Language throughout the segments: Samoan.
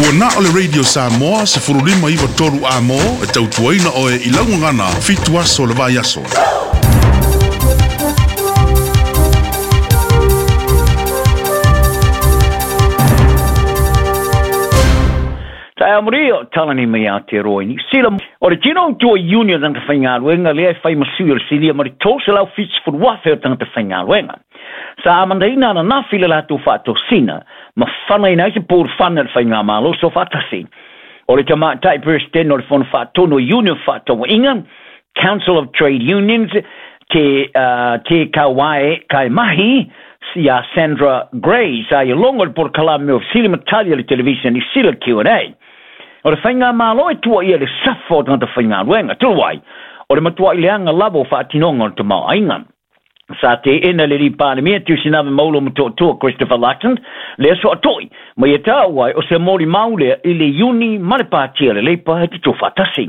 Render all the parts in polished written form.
Ua na o le Radio Samoa 1593 Amo e tautuaina oe i laugagana 7 aso le vai aso. Tae amuri o talani mai a te roa i Niu Sila. O le tino tua union o tagata faigaluega lea e fai ma sui o le silia ma le 370,000 o tagata faigaluega. Sa amandaina ananafi le latou faatosina ma fanaina ai se pulufana i le faigamalo soofaatasi. O le tamaitai Peresetene o le Fono Faatonu o Iuni o Fefaatauaiga, Council of Trade Unions, Te Te Kauae Kaimahi, iā Sandra Grey, sa ia logo i le polokalame o Fesili ma Tali a le Televiseni Sila Q&A. O le faigamalo e tuuaia i le safa o tagata faigaluega, talu ai, o le matuai leaga lava o faatinoga o le tamaoaiga. Sa teena le Alii Palemia Tusinava Maulo Motootua Christopher Luxon lea soatoi ma ia taua ai o se molimau lea i le Iuni ma le Pāti a le Leipa e tutufaatasi.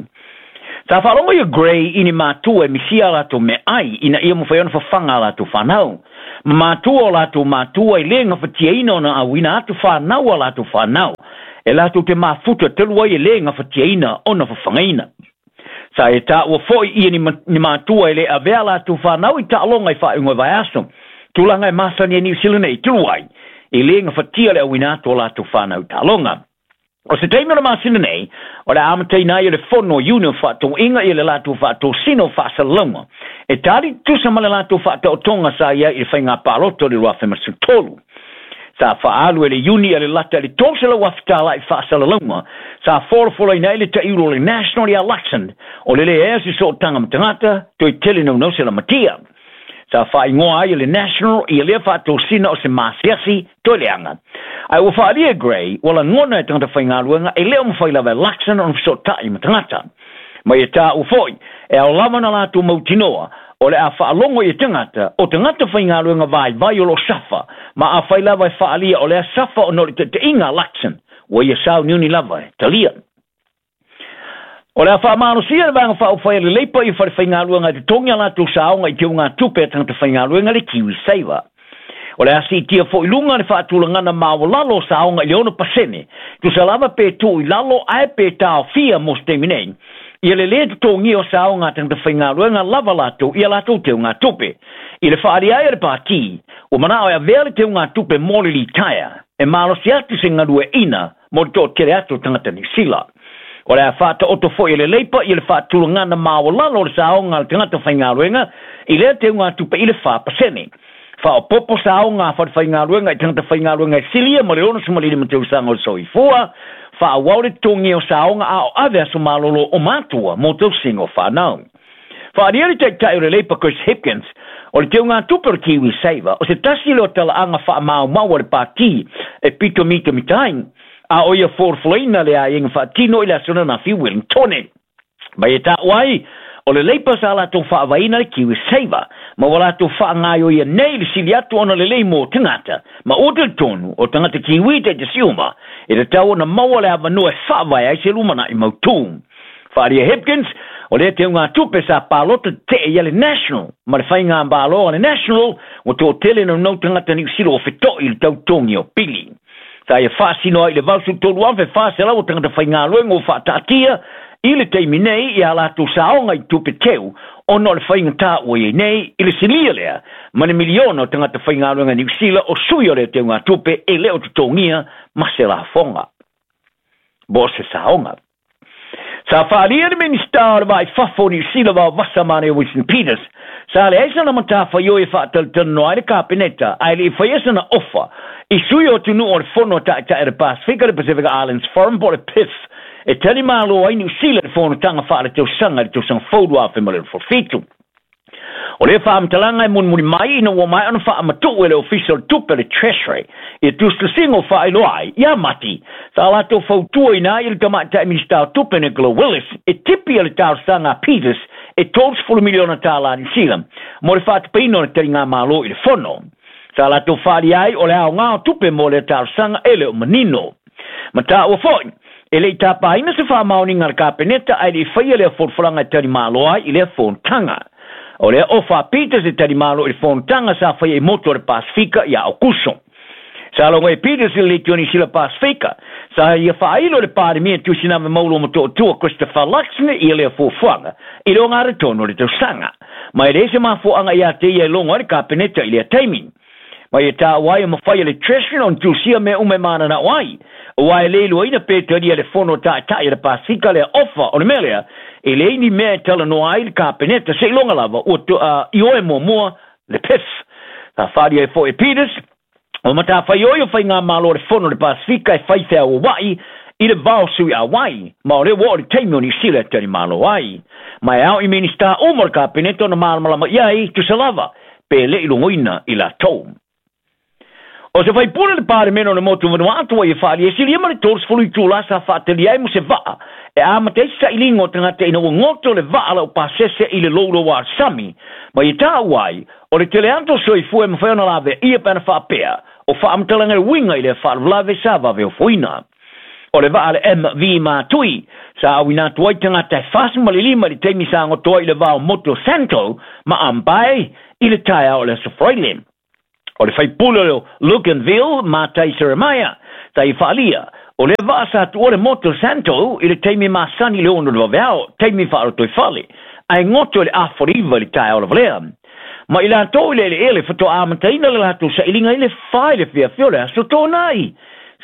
Sa faalogo ia Grey i ni matua e misia a latou meaai ina ia mafai ona fafaga a latou fanau. Ma matua o latou matua e le gafatiaina ona auina atu fanau a latou fanau e latou te mafuta talu ai e le gafatiaina ona fafagaina. Sa e taua foi ia ni matua e le avea latou fanau i taaloga i faaiuga o vaiaso, tulaga e masani ai Niu Sila nei, talu ai, e le gafatia le auina atu o latou fanau i taaloga. O se taimi o le masina nei, o le a amataina ai e le Fono o Iuni o Faatauaiga ia le latou faatosina o faasalalauga e tali tutusa ma le latou faataotoga sa i ai i le faiga palota o le 2013. Sa faaalu e le Iuni a le lata i le $300,000 tala i faasalalauga sa folafolaina ai le taiulu o le National ia Luxon o le leai o se sootaga ma tagata toe tele naunau se lamatia. Sa faaigoa ai e le National ia lea faatosina o se maasiasi toe leaga. Ae ua faaalia e Grey ua lagona e tagata faigaluega e le o mafai lava e Luxon ona fesootai ma tagata. Ma ia taua foi, e ao lava ona latou mautinoa o le a faalogo ia tagata, o tagata faigaluega vaivai o lo o safa, ma afai lava e faaalia o lea safa ona o le taitaiga a Luxon, ua ia sauniuni lava e talia. O le a faamalosia le Vaega Faaupufai a le Leipa i fale faigaluega e totogi a latou saoga i teugatupe a tagata faigaluega le KiwiSaver. O le a siitia foi i luga le faatulagana maualalo o saoga i le 6%, tusa lava pe tuu i lalo ae pe taofia mo se taimi nei ia le lē totogia o saoga a tagata faigaluega lava latou i a latou teugatupe. I le faaalia ai a le Pati, ua manao e avea le teugatupe mo le litaea e malosi atu se galueaiina mo le toatele atu o tagata Niu Sila. O le a faataoto foi e le Leipa ia le faatulagana maualalo o le saoga a le tagata faigaluega i lea teugatupe i le 4%. Faaopoopo saoga a falefaigaluega i tagata faigaluega e silia ma le 65 tausaga o le soifua, faaauau le totogia o saoga a o ave aso malolo o matua mo tausiga o fanau. Faaalia le Taitai o le Leipa Chris Hipkins, o le teugatupe o le KiwiSaver, o se tasi lea o talaaga faamaumau a le Pati e pito mitamita ai, a o ia folafolaina le aiaiga faatino i le aso ananafi i Wellingtone. Mai e taua ai, o le Leipa sa latou faavaeina le KiwiSaver, ma ua latou faagaioia nei le sili atu ona lelei mo tagata, ma ua talitonu o tagata Kiwi taitasi uma, e tatau ona maua le avanoa e faavae ai se lumanai mautū. Faaalia Hipkins, o lea teugatupe sa palota tetee ia le National, ma le faigamalo a le National ua toatele naunau tagata Niu Sila ua feto'i i le tautogi o pili. Sa ia faasino ai i le 83,400 o tagata faigaluega ua faataatia i le taimi nei i a latou saoga i tupe teu ona o le faigata ua i ai nei i le silia lea ma le miliona o tagata faigaluega Niu Sila o sui o lea teugatupe e le o totogia ma se lafoga mo se saoga. Sa faaalia le Minisita o le Vaa i Fafo o Niu Sila Vaovasa Mane Winston Peters, sa leai sana matafaioi e faatalatalanoa ai le Kapeneta ae le i faia sana ofa i sui o atunuu o le Fono a Taitai o le Pasefika, le Pacific Islands Forum po o le PIF, e tali malo ai Niu Sila i le fonotaga faaletausaga i le tausaga fou 2027. O lea faamatalaga e mulimuli mai ina ua maea ona faamatuu e le Ofisa o le Tupe, le Treasury, ia tusitusiga o faailoa ai ia Mati, sa latou fautuaina ai le Tamaitai Minisita o Tupe Nicola Willis e tipi le talosaga a Peters e $30 miliona tala Niu Sila mo le faatupeina o le taligamalo i le Fono. Sa latou faaalia ai o le aoga o tupe mo lea talosaga e le o manino. Ma taua foi, e le i tapaina se faamaoniga a le Kapeneta ae le i faia lea folafolaga e talimalo ai i lea fonotaga. O lea ofa a Peters e talimalo i le fonotaga sa faia i motu o le Pasefika ia Aokuso. Sa logo e Peters i le Leitio Niu Sila Pasefika, Sa ia faailo le Palemia Tusinga Maulo Motootua Christopher Luxon ia lea fuafuaga i le ogatotonu o le tausaga. Ma e leai se mafuaaga ia te ia e logo ai le Kapeneta i lea taimi. Ma ia taua ai o mafai e le Treasury ona tusia mea uma e mananao ai. Aua e le iloaina pe talia le fono taitai a le Pasefika lea ofa o le mea lea, e leai ni mea e talanoa ai le Kapeneta seiloga lava ua ioe muamua le PIF. Sa faaalia ai foi e Peters, o matafaioi o faigamalo a le Fono o le Pasefika e fai feauauai i le vao sui auai, ma o lea ua oo le taimi o Niu Sila e talimalo ai. Ma e ao i Minisita uma o le Kapeneta ona malamalama i ai, tusa lava, pe le i logoina i latou. O se faipule le Palemene o le motu Vanuatu ua ia faaalia e silia ma le 30 itula sa faatalia ai mo se vaa e amata ai se sailiga o tagata ina ua goto le vaa laupasese i le louloua sami ma ia taua ai o le tele atu o soifua e mafai ona laveaia pe ana faapea o faamatalaga e uiga i lea faalavelave sa vave ofoina. O le vaa le MV Matui sa auina atu ai tagata e 45 i le taimi sa goto ai i le va o motu o Santo ma Ambae i le taeao o le Aso Faraile. O le faipule o Luganville, Matai Seremaia, sa ia faaalia, o lea vaa sa tuua le motu o Santo i le taimi masani i le 6 o le vaveao, taimi faalotoifale, ae goto i le 8:30 i le taeao lava lea. Ma i latou i le eleele faatoa amataina le latou sailiga i le 4 i le fiafia o le aso Toonai.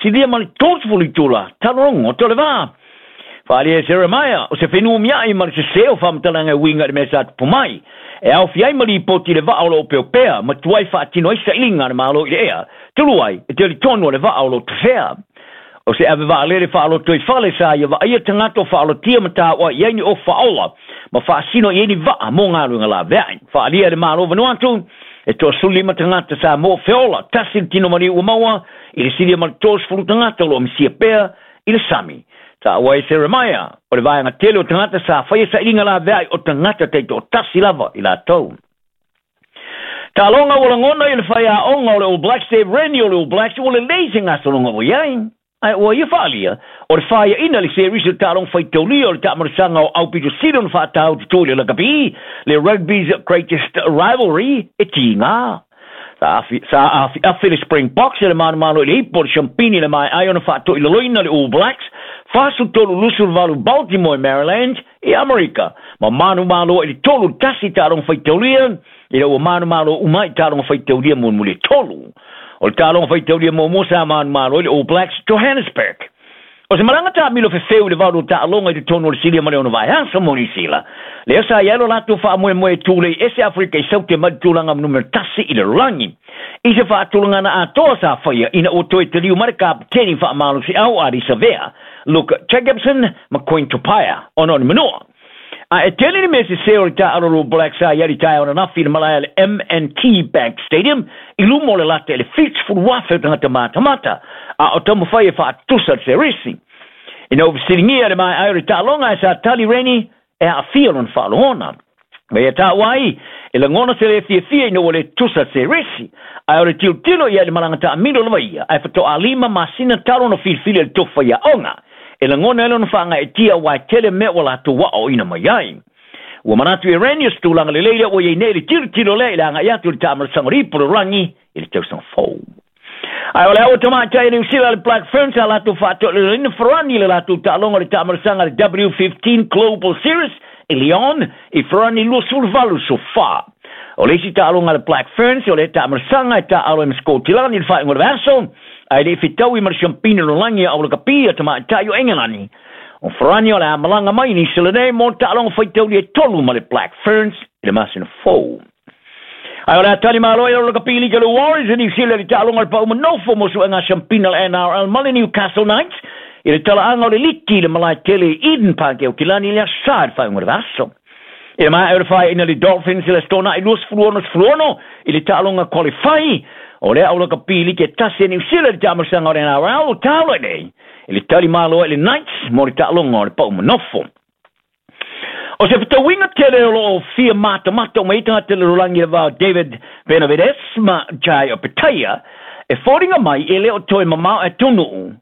Silia ma le 30 itula, talu ona goto le vaa. Faaalia e Seremaia, o se fenumiai ma le sese o faamatalaga e uiga i le mea sa tupu mai. E aofia ai ma lipoti i le vaa o lo o peopea, ma tuai faatino ai sailiga a le Malo i le ea, talu ai e talitonu o le vaa o lo o tafea. O se ave vaalele faalotoifale sa ia vaaia tagata o faalotia ma taua i ai ni ofa ola ma faasino i ai ni vaa mo galuega laveai. Faaalia e le Malo Vanuatu, e 35 tagata sa mo feola, tasi le tino maliu ua maua i le silia ma le 30 tagata o lo o misia pea i le sami. Taua e Seremaia, o le vaega tele o tagata sa faia sailiga laveai o tagata taitoatasi lava i latou. Taaloga ua lagona i le faiaoga o le All Blacks Dave Rennie o le All Blacks ua lelei se gasologa ua i ai. Ae ua ia faaalia, o le faiaina le series o le taaloga faitaulia o le taamalosaga o aupito sili ona faataututu i le lakapi, le Rugby's Greatest Rivalry, e tiga. Sa afiafi le Springboks i le manumalo i le ipu o le Champini i le maeai ona faatoilaloina le All Blacks 43-28 Baltimore i Maryland i Amerika ma manumalo i le 3-1 taaloga faitaulia ina ua manumalo uma i taaloga faitaulia mulimuli e tolu. O le taaloga faitaulia muamua sa manumalo i le All Blacks Johannesburg. O se malaga taamilo fefeu i le valu o taaloga i totonu o le Silia ma le ono vaiaso mo Niu Sila. Lea sa i ai lo latou faamoemoe e tulei ese Afrika i Saute mai le tulaga numera 1 i le lalolagi. I se faatulagana atoa sa faia ina ua toe taliu mai le kapeteni faamalosiau Ardie Savea, Luke Jacobson ma Quinn Tupaea ona o ni manua. A e tele ni mea sese o le taaalo o le All Blacks sa i ai i le taeao ananafi i le malae a le M&T Bank Stadium i luma o le lata i le 70,000 o tagata matamata a o taumafai e faatusa le serisi. Ina ua fesiligia le maeae o le taaloga e sa tali Rennie e aafia lona faalogona. Ma ia taua ai, e lagona se le fiafia ina ua le tusa serisi, ae o le tilotilo i ai i le malaga taamilo lava ia, ae faatoa 5 masina talu ona filifili e le tofu faiaoga. E lagona ai lona faagaeetia aua e tele mea ua latou aoaoina mai ai. Ua manatu e Rennie o se tulaga lelei lea ua i ai nei le tilotilo lea i le agai atu i le taamalosaga o le ipu o le rangi i le tausaga fou. Ae o le au tamaitai a Niu Sila le Black Ferns sa latou faatoilaloina Farani i le latou taaloga o le taamalosaga le W15 Global Series i Lyon i Farani 28 so fa. O le isi taaloga a le Black Ferns o le taamalosaga e taaalo ai ma Sikotilani i le faaiuga o le vaiaso, ae le i fetaui ma le siampini o le lalolagi a aulakapi a tamaitai o Engelani. O Farani o le a malaga mai i Niu Sila nei mo le taaloga faitauli e tolu ma le Black Ferns i le masina fou. Ae o le a tali malo i aulakapi lika le Warriors i Niu Sila i le taaloga o le pauma nofo mo suega siampina le NRL ma le Newcastle Knights i le talaaga o le liki i le malae tele i Eden Park e Aukilani i le aso Sa i le faaiuga o le vaiaso. I le maea o le faaiuina le Dolphins i le Aso Toonai 26 i le taaloga qualify o le aulakapi liki e tasi a Niu Sila i le taamalosaga o le NRL o taula nei i le tali malo ai le Knights mo le taaloga o le pauma nofo. O se fetauiga tele o lo o fia matamata uma ai tagata i le lalolagi i le va o David Benavidez ma Jai Opetaia e foliga mai e le o toe mamao atunuu.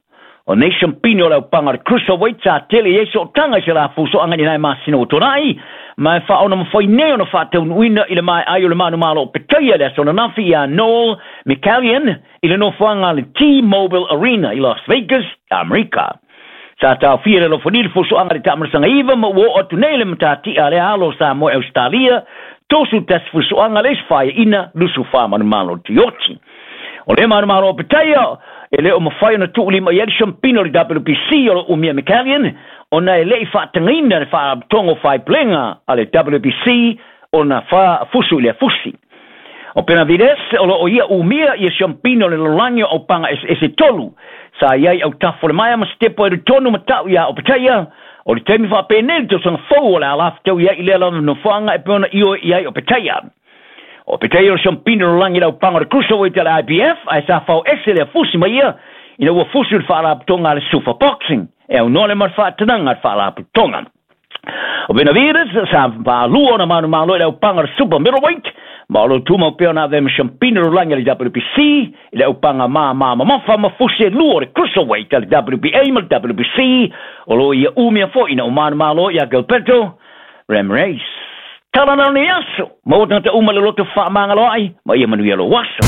O nei siampini o le aupaga o le Cruiserweight sa tele i ai sootaga i se la fusoaga i nai masina ua tuanai, Ma e faaonamafai nei ona faataunuuina i le maeai o le manumalo o Petaia le aso ananafi ia Noel Mikaelian i le nofoaga a le T-Mobile Arena i Las Vegas, Amerika. Sa taofia le alofagia le fusuaga i le taamalasaga 9 ma ua oo atu nei le matatia a lea alo o Samoa e Ausetalia 31 fusuaga le isi faaiaina 24 manumalo tioti. O le manumalo o Petaia e le o mafai ona tuulima i ai le siampina o le WBC o lo umia Mikaelian ona e lei faatagaina le faalapotopotoga o faaipulega a le WBC ona fusu i lea fusi. O Benavides o lo o ia umia ia siampina o le lalolagi o aupaga eseese 3 sa i ai autafa o le maea ma sitepo e tonu ma tau ia o Petaia o le taimi faapenei le tausaga fou o le alafetau i ai i lea lava nofoaga e pei ona ioe i ai o Petaia. O Petaia o le siampina o le lalolagi i le aupaga o le Cruiserweight a le IBF ae sa fao ese lea fusi mai ia ina ua fusi le faalapotopotoga a le Super Boxing e aunoa le ma le faatanaga a le faalapotopotoga. O Benavides sa faalua ona manumalo i le aupaga o le Super Middleweight ma o lo tumau pea ona avea ma siampina o le lalolagi a le WBC i le aupaga māmā mamafa ma fusi e lua o le Cruiserweight a le WBA ma le WBC o lo ia umia foi ina ua manumalo ia Gilberto Ramirez. Tala na o nei aso, maua tagata uma le loto faamagaloai ma ia manuia lou aso.